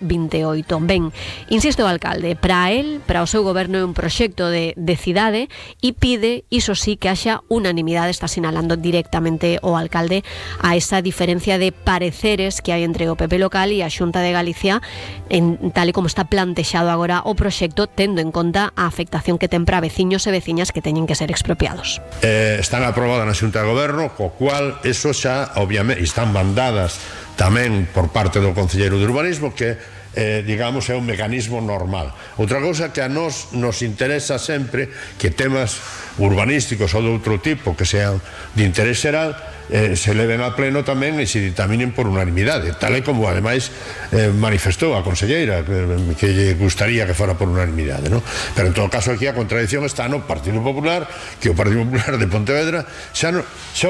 28. Ben, insisto o alcalde, para él, para o seu goberno é un proxecto de cidade e pide, iso sí, que haxa unanimidade, está sinalando directamente o alcalde a esa diferencia de pareceres que hai entre o PP local e a Xunta de Galicia tal e como está plantexado agora o proxecto, tendo en conta a afectación que ten para veciños e veciñas que teñen que ser expropiados. Están aprobadas na Xunta de Goberno, co cual eso xa, obviamente, están mandadas tamén por parte do Concelleiro de Urbanismo, que digamos é un mecanismo normal. Outra cousa que a nos interesa sempre, que temas urbanísticos ou de outro tipo que sean de interés xeral se leven a pleno tamén e se ditaminen por unanimidade, tal e como ademais manifestou a conselleira que lle gustaría que fora por unanimidade, non? Pero en todo caso aquí a contradición está no Partido Popular, que o Partido Popular de Pontevedra xa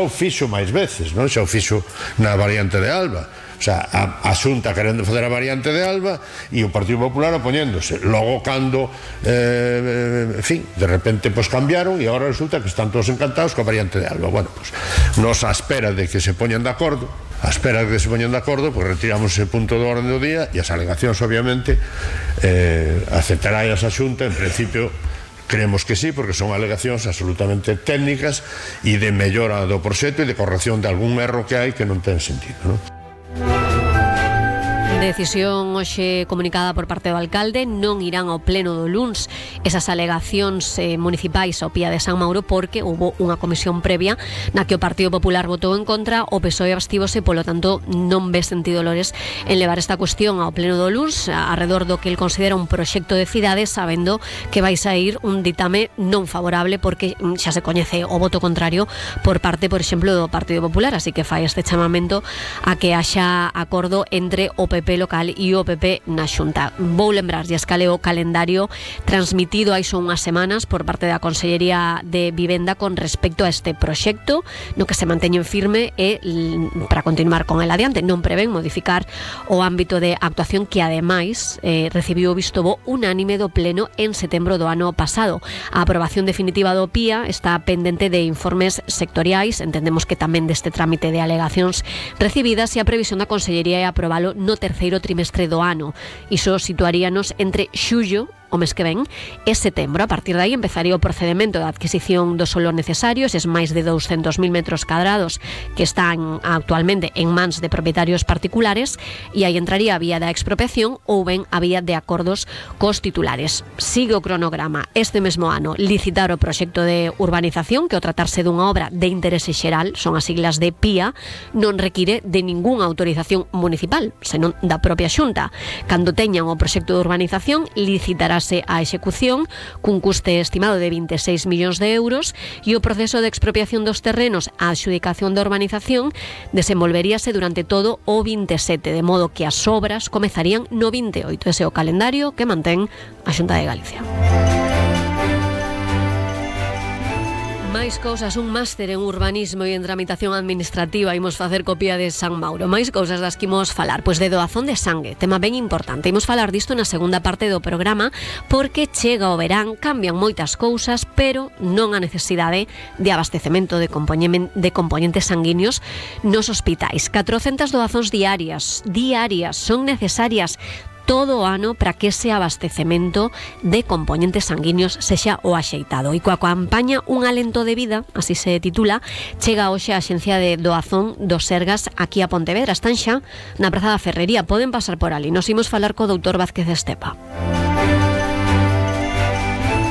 o fixo máis veces, non? Xa o fixo na variante de Alba. O sea, a Xunta querendo fazer a variante de Alba e o Partido Popular opoñéndose. Logo cando en fin, de repente pues cambiaron e agora resulta que están todos encantados coa variante de Alba. Bueno, pues nos a espera de que se poñan de acordo, pues retiramos ese punto do orden do día e as alegacións obviamente aceptará esa Xunta. En principio creemos que sí, porque son alegacións absolutamente técnicas e de mellora do proxecto e de corrección de algún erro que hai que non ten sentido, non? Decisión hoxe comunicada por parte do alcalde, non irán ao pleno do luns esas alegacións municipais ao Pía de San Mauro, porque houve unha comisión previa na que o Partido Popular votou en contra, o PSOE abstívose, polo tanto non ve sentido, Lores, en levar esta cuestión ao pleno do luns arredor do que el considera un proxecto de cidade, sabendo que vai sair un ditame non favorable, porque xa se coñece o voto contrario por parte, por exemplo, do Partido Popular, así que fai este chamamento a que haxa acordo entre o PP local e o PP na Xunta. Vou lembrarlles cal é o calendario transmitido hai só unhas semanas por parte da Consellería de Vivenda con respecto a este proxecto, no que se manteñen firme e para continuar con el adiante. Non prevén modificar o ámbito de actuación, que ademais recibiu o visto bo unánime do pleno en setembro do ano pasado. A aprobación definitiva do PIA está pendente de informes sectoriais, entendemos que tamén deste trámite de alegacións recibidas, e a previsión da Consellería é aprobalo no terceiro trimestre do ano. Iso situaríanos entre xullo, o mes que ven, e setembro. A partir de aí empezaría o procedimento de adquisición do solo necesario, eses máis de 200.000 metros cadrados que están actualmente en mans de propietarios particulares, e aí entraría a vía da expropiación ou ben a vía de acordos cos titulares. Sigue o cronograma este mesmo ano licitar o proxecto de urbanización, que ao tratarse dunha obra de interese xeral, son as siglas de PIA, non require de ningunha autorización municipal, senón da propia Xunta. Cando teñan o proxecto de urbanización, licitará a execución cun custe estimado de 26 millóns de euros, e o proceso de expropiación dos terrenos á adxudicación da urbanización desenvolveríase durante todo o 27, de modo que as obras comezarían no 28. Ese é o calendario que mantén a Xunta de Galicia. Máis cousas, un máster en urbanismo e en tramitación administrativa imos facer copia de San Mauro. Máis cousas das que imos falar, pois de doazón de sangue, tema ben importante. Imos falar disto na segunda parte do programa, porque chega o verán, cambian moitas cousas, pero non a necesidade de abastecemento de componentes sanguíneos nos hospitais. 400 doazóns diarias son necesarias todo o ano para que ese abastecemento de componentes sanguíneos sexa o axeitado. E coa campaña Un alento de vida, así se titula, chega hoxe a Axencia de Doazón dos Sergas aquí a Pontevedra. Están xa na Praza da Ferrería, poden pasar por ali. Nos imos falar co doutor Vázquez Estepa.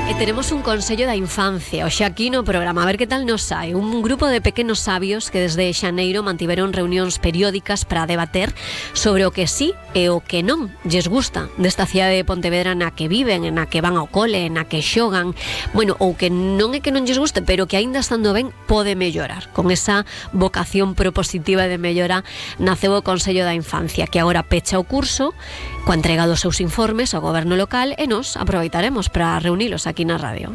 E teremos un consello da infancia hoxe aquí no programa, a ver que tal nos sai. Un grupo de pequenos sabios que desde xaneiro mantiveron reunións periódicas para debater sobre o que sí e o que non lles gusta desta cidade de Pontevedra na que viven, na que van ao cole, na que xogan, bueno, ou que non é que non lles guste, pero que aínda estando ben pode mellorar. Con esa vocación propositiva de mellora naceu o Consello da Infancia, que agora pecha o curso coa entrega dos seus informes ao goberno local, e nos aproveitaremos para reunilos aquí na radio.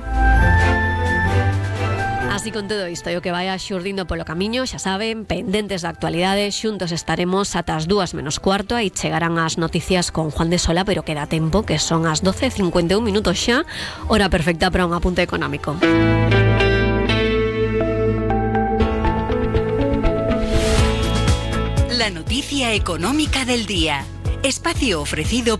Así con todo isto e o que vai xurdindo polo camiño, xa saben, pendentes da actualidade, xuntos estaremos ata as 2:15, aí chegarán as noticias con Juan de Sola, pero queda tempo, que son as 12:51 minutos xa, hora perfecta para un apunte económico. La noticia económica del día. Espacio ofrecido